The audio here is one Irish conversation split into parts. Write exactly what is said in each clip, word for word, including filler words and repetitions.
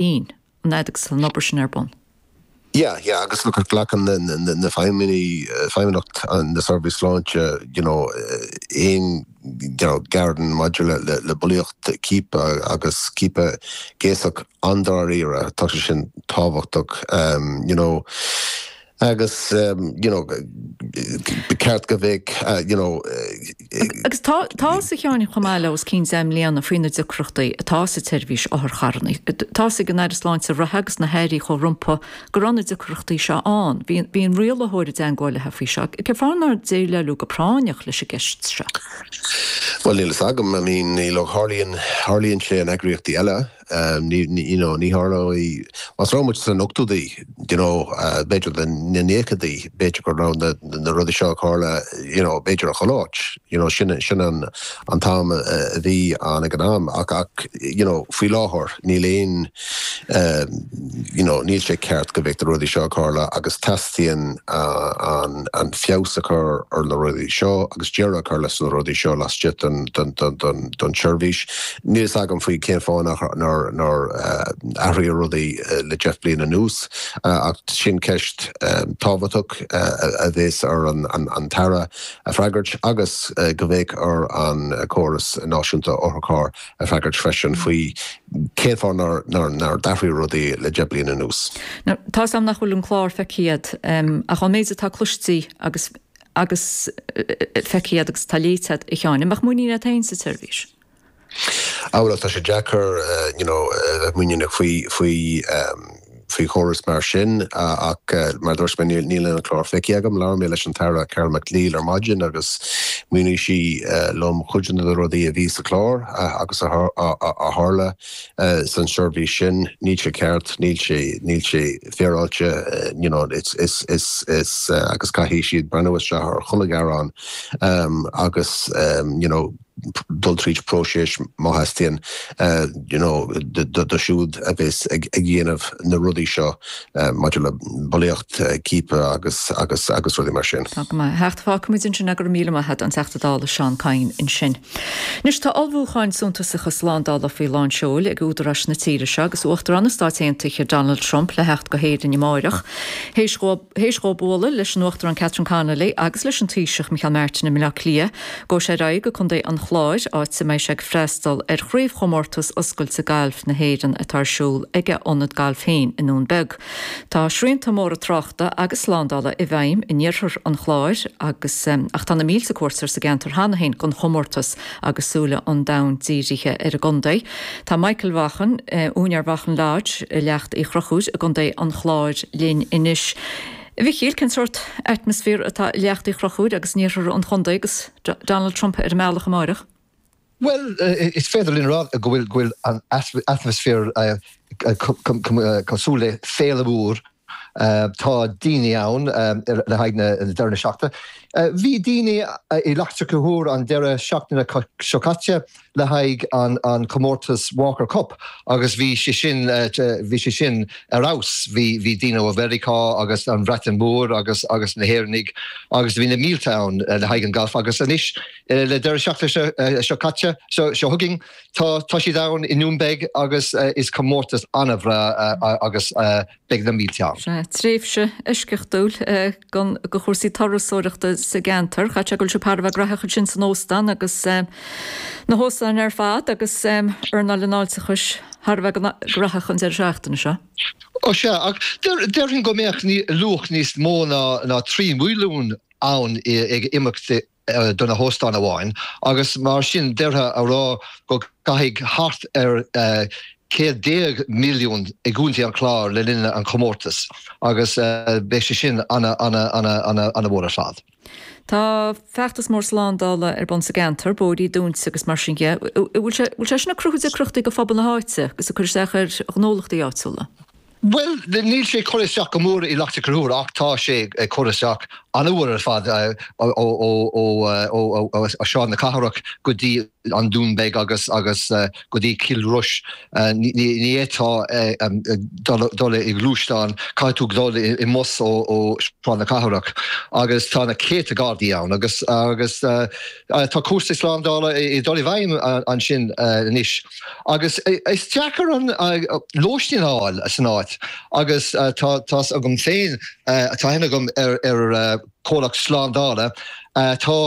cinn an fhad agus an obair sin ar bun. Yeah, yeah, agus look glacann na, na, na feidhmeannaigh feidhmeannacht na seirbhís sláinte you know, aon you know, gearán maidir le, le, le bulaíocht ciapadh agus ciapadh gnéasach an-dáiríre tá sé sin tábhachtach um, you know, agus um, you know, ba cheart go bheadh uh, you know, Agus tá tá sa cheann chomh maith le os cionn deich mbliana faoi na deacrachtaí atá sa tseirbhís otharcharranna. Tá ag an Aire Sláinte reatha agus na hairí chomh rompu go raibh na deacrachtaí seo ann. Bhí an rialaitheoir i dteagmháil faoi seo, Cén fáth nár déileáladh go práinneach leis an gceist seo. Well níl agam I mean ní tharlaíonn tharlaíonn sé in eagraíochtaí eile um, ní ní you know, ní tharlóidh más raibh muid san ochtóidí you know, uh, b'fhéidir na nóchaidí b'fhéidir go raibh na, na rudaí seo tharla you know, b'fhéidir a choláit you know, sin sin an an t-am a bhí an ag an am ach ach you know, faoi láthair níl aon um, you know, níl sé ceart go bhfuil na rudaí seo tharla agus teastaíonn uh, an, an feabhas a chur ar na rudaí seo agus deireadh a chur leis na rudaí seo laistigh den, den, den, den, den seirbhís. Níl agam faoi cén fáth nár nár uh, athraíodh rudaí uh, le deich bliana anuas uh, ach sin ceist um, tábhachtach uh, a bheas ar an, an, an tAire a fhreagairt agus uh, go bheidh ar an córas náisiúnta otharcharr a fhreagairt freisin faoi cén fáth nár nár nár d'athraigh rudaí le deich bliana anuas. Tá am nach bhfuil an clár feicthe agat um, ach an méid atá cloiste agus agus feicthe agus tá léite a Sheáin, mbeadh muinín agat féin sa tseirbhís. Á tá sé deacair you know, muinín faoi faoi um, faoi chóras mar sin ach mar dúirt mé níl an clár feicthe agam labhair mé leis an tAire Carol McNeill ar maidin agus mhínigh sí liom cuid de na rudaí a bhí sa chlár agus a tharla san seirbhís sin níl sé ceart níl sé níl sé féaráilte you know, is, is, is, is, agus caithfidh siad breathnú isteach ar chuile ghearán um, agus um, you know, dul tríd próiseas má theastaíonn uh, you know, do siúd a bheas ag, ag dhéanamh na rudaí seo uh, maidir le bulaíocht uh, ciapadh agus agus agus rudaí mar sin. Tá go hecht fágfaimid ansin go raibh míle maith agat an Teachta Dála Seán Kyne ansin. Anois tá ullmhúcháin suntasacha slándála faoi lán seoil ag údaráis na tíre seo agus Uachtarán na Stát Aontaithe Donald Trump le theacht go hÉirinn amárach. Théis dó bualadh leis an Uachtarán Catherine Connolly agus leis an Taoiseach Micheál Martin i mBaile Átha Cliath, gabhfaidh sé ar aghaidh go Contae an Chláir áit a mbeidh sé ag freastal ar chraobhchomórtas oscailte gailf na hÉireann atá ar siúl ag a ionad gailf féin i nDún Beag. Tá srianta móra tráchta agus slándála i bhfeidhm in iarthar an Chláir agus um, ach tá na mílte cuairteoir sa gceantar cheana féin don chomórtas agus súile an domhain dírithe ar an gcontae. Tá Michael Vaughan, uh, úinéir Vaughan Lodge i Leacht Uí Chonchúir i gContae an Chláir linn anois. Mhichíl cén sórt atmaisféar atá i Leacht Uí Chonchúir agus in iarthar an chontae agus Donald Trump ar an mbealach amárach. Well, is féidir linn rá go bhfuil go bhfuil an atmaisféar cosúil le féile mhór tá daoine ann le haghaidh na deireadh seachtaine. Bhí daoine i Leacht Uí Chonchúir an deireadh seachtaine seo caite le haghaidh an, an comórtas Walker Cup agus bhí sé sin bhí sé sin ar fheabhas bhí bhí daoine ó Mheiriceá agus an Bhreatain Mhór agus agus na hÉireannaigh agus bhí na mílte ann le haghaidh an golf agus anois le deireadh seachtaine seo caite seo seo chugainn tá tá siad ann i nDún Beag agus is comórtas an-bhreá agus beidh na mílte ann. Sé tréimhse eisceachtúil don do chúrsaí turasóireachta sa gceantar, Cha go se par bheith grathach sin san óstán agus na hóstáin ar fad agus earnáil an fháilteachais thar a bheith gnóthach an deireadh seachtaine seo. Ó sea ach déarfainn go mbeadh luach níos mó ná ná trí mhilliún ann ag imeacht do na hóstáin amháin agus mar sin d'fhéadfá a rá go gcaithfidh thart ar céad déag milliún i gContae an Chláir le linn an chomórtas agus beidh sé sin ana ana ana ana ana mhór ar fad. Tá feachtas mór slándála ar bun sa gceantar, bóithre dúnta agus mar sin de. Bhfuil sé sin ag cruthú deacrachtaí do phobal na háite agus ag cur isteach ar ghnólachtaí áitiúla? Well, níl sé cur isteach go mór i Leacht Uí Chonchúir ach tá sé ag cur isteach an-mhór ar fad ó ó Sráid na Cathrach go dtí an Dún Beag agus agus go dtí Cill Rois. Ní fhéadfá dul i ngluaisteán, caithfidh tú dul i mbus ó Sráid na Cathrach agus tá na céadta Gardaí ann agus agus tá cúrsaí slándála ag dul i bhfeidhm ansin anois. Agus is deacair an lóistín a fháil san áit agus tá tá's agam féin tá aithne agam ar ar comhlacht slándála tá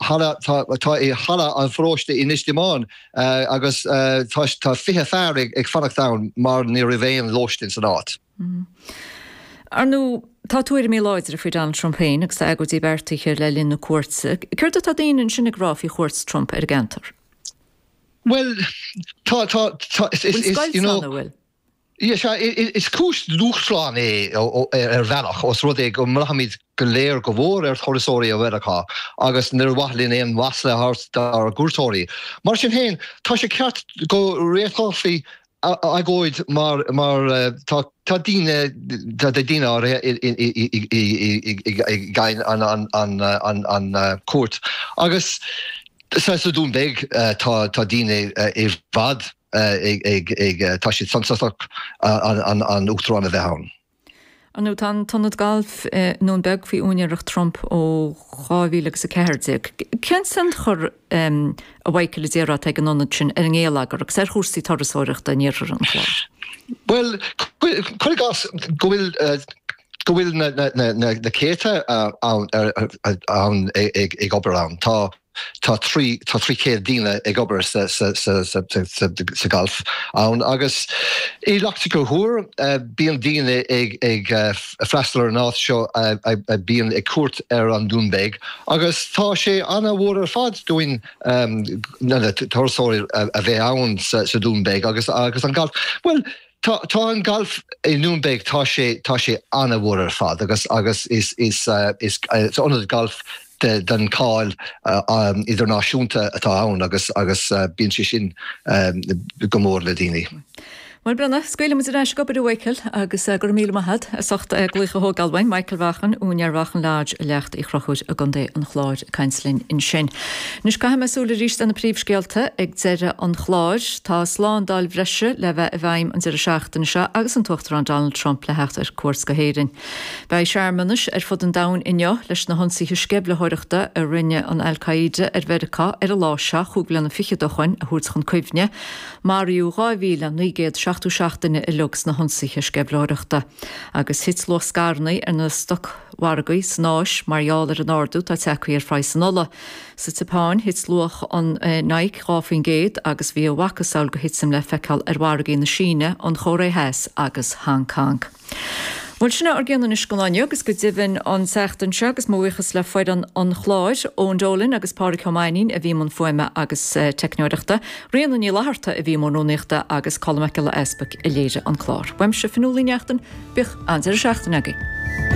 halla tá i halla an pharóiste in Inis Díomáin agus tá tá fiche fear ag fanacht ann mar ní raibh aon lóistín san áit. Ar ndóigh, tá tuairimí láidre faoi Donald Trump féin agus tá agóidí beartaithe le linn na cuairte. Céard atá daoine ansin ag rá faoi chuairt Trump ar an gceantar? Well, tá tá tá is is is you know bhfuil? Yeah, sea, is cúis dúshlán é ar bhealach os rud é go mbraithimid go léir go mhór ar thurasóirí ó Mheiriceá agus níor mhaith linn aon mhasla a thabhairt dár gcuairteoirí. Mar sin féin, tá sé ceart go réiteofaí agóid mar mar tá tá daoine tá daoine áirithe i gcoinne an an an an an cuairt agus sa sa Dún Beag tá tá daoine i bhfad ag ag ag tá siad sásta an an an uachtarán a bheith ann. Ar ndóigh, tá an t-ionad gailf i nDún Beag faoi úinéireacht Trump ó dhá mhíle agus a ceathair déag. Cén tionchar, a Mhichael, a déarfá atá ag an ionad sin ar an ngeilleagar agus ar chúrsaí turasóireachta in iarthar an Chláir? Bhuel, cuir i gcás go bhfuil go bhfuil na na na na céadta ann ann ag ag obair ann. Tá Tá trí tá trí chéad daoine ag obair sa sa sa sa sa sa galf ann agus i Leacht an Chonchúir bíonn daoine ag ag freastal ar an áit seo a bíonn ag cuairt ar an Dún Beag agus tá sé an-mhór ar fad dúinn na turasóirí a bheith ann sa sa Dún Beag agus agus an galf. Bhuel tá tá an galf i nDún Beag tá sé tá sé an-mhór ar fad agus agus is is is is ionad galf den cháil idirnáisiúnta atá ann agus agus bíonn sé sin go mór le daoine. Bhuel, Brenna, scaoilfidh muid ar ais ag obair a Mhichael agus go raibh míle maith agat as ucht glaoch a thógáil uainn. Michael Vaughan, úinéir Vaughan Lodge i Leacht Uí Chonchúir i gContae an Chláir ag caint linn ansin. Anois caithfidh mé súil arís ar na príomhscéalta ag deireadh an chláir. Tá slándáil bhreise le bheith i bhfeidhm an deireadh seachtaine seo agus an tUachtarán Donald Trump le theacht ar cuairt go hÉirinn. Beidh searmanais ar fud an domhain inniu leis na hionsaithe sceimhlitheoireachta a rinne an Al-Qaeda ar Mheiriceá ar an lá seo chúig bliana fichead ó shoin a thabhairt chun cuimhne. Maraíodh dhá mhíle naoi gcéad seachtó seacht duine uilig sna hionsaithe sceimhlitheoireachta. Agus thit luach scaireanna ar na stocmhargaí san Áis mar gheall ar an ardú atá tagtha ar phraghas an ola. Sa tSeapáin, thit luach an Nikkei dhá faoin gcéad agus bhí a mhacasamhail de thitim le feiceáil ar mhargaí na Síne, an Chóiré Theas agus Hong Kong. Bhuel, sin é ár gcion anois don lá inniu agus go deimhin an tseachtain seo agus mo bhuíochas le foireann an chláir, Eoin Dolan agus Pádraig Ó Mainnín a bhí i mbun fuaime agus teicneoireachta, Ríona Ní Fhlatharta a bhí i mbun rúnaíochta agus Colm Mac Giolla Easpaig a léirigh an clár. Uaimse, Fionnuala Ní Neachtain, bíodh an-deireadh seachtaine agaibh.